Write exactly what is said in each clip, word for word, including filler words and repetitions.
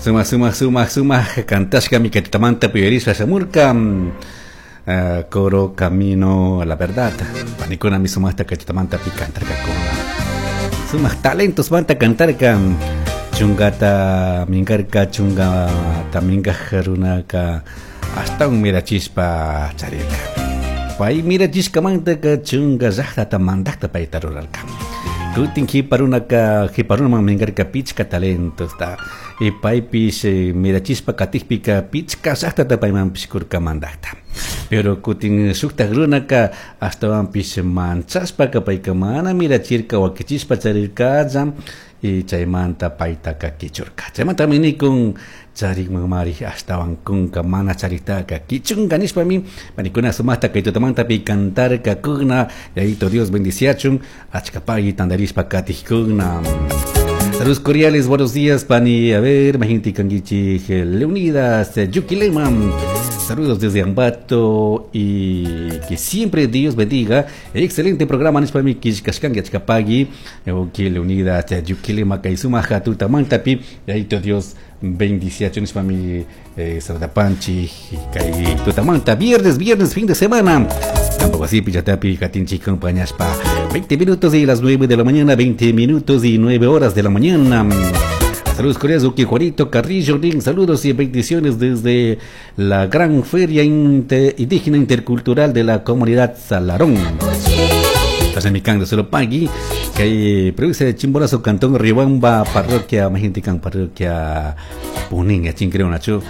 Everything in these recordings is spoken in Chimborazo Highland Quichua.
Sumak, sumak, sumak, sumak kantashkami kay tutamanta uyarishpa shamurka uh, coro Camino a la Verdad. Panikunami sumaqta kay tutamanta pi kantarkakuna. Sumak talentos manta kantarka. Chungata minkarka, chungata minkaj runaka ashtawan mirachishpa charirka. Pay mirachishkamantaka chunga llaqtata mandaqta payta rurarka. Kutin qipa runaka qipa runaman minkarka pichka talentosta y paypish eh, mirachishpa katikpika pichka llaqtata paymanpish kurka mandaqta. Pero kutin shuktak runaka ashtawanpish manchashpaka payka mana mirachirka wakichishpa charirkalla y chaymanta paytaka kichurka. Chaymantami nikun charikmanmari ashtawan kunka mana chariktaka kichunka nishpami panikuna sumaqta kay tutamantapi kantarkakuna. Yayito Dios bendiciachun achka pagui tandarishpa katikkuna. Saludos cordiales, buenos días, pani. A ver, majinti kanguichi, Leonidas, Yuquilema. Saludos desde Ambato y que siempre Dios bendiga. Excelente programa, nishpami kishkashkangi achkapagui. Oki Leonidas, Yuquilema, kay sumak tutamantapi. Yayito Dios bendiciachun nishpami eh, saludapanchi, kay tutamanta. Viernes, viernes, fin de semana. Tampoco así, pichatapi, katinchi, compañaspa. veinte minutos y las nueve de la mañana, veinte minutos y nueve horas de la mañana. Saludos cordiales, Uki Juanito Carrillo, saludos y bendiciones desde la gran feria inter, indígena intercultural de la comunidad Salarón. Tasamicán de Solopagui, que hay provincia de Chimborazo, Cantón Riobamba, parroquia Majinticán, parroquia Punín, creo Nacho.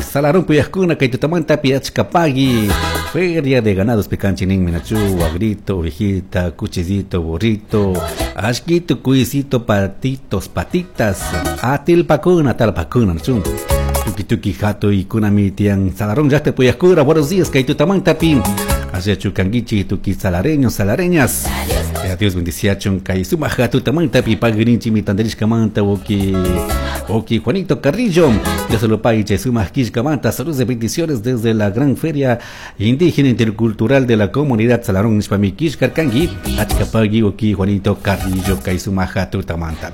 Salarón, Puyascuna, Kaitutamanta, Piachcapagui, feria de ganados picanchinin, Minachu, agrito, ovejita, cuchillito, burrito, ashquito, cuisito, patitos, patitas, atilpacuna, talpacuna, Nachu. Tuki tuki jato y kunami tian Salarón, ya te Puyascura, buenos días, Kaitutamanta, pin. Hacia Chucanguichi, tuki salareños, salareñas. Dios bendiciachun kay sumak tutamanta pi pagrinchi mi tandarishkamanta oki oki Juanito Carrillo. Dios lo pague chay sumak kishkamanta. Saludos de bendiciones desde la gran feria indígena intercultural de la comunidad Salarón nishpami kishkarkangi. Achkapagui oki Juanito Carrillo kay sumak tutamanta.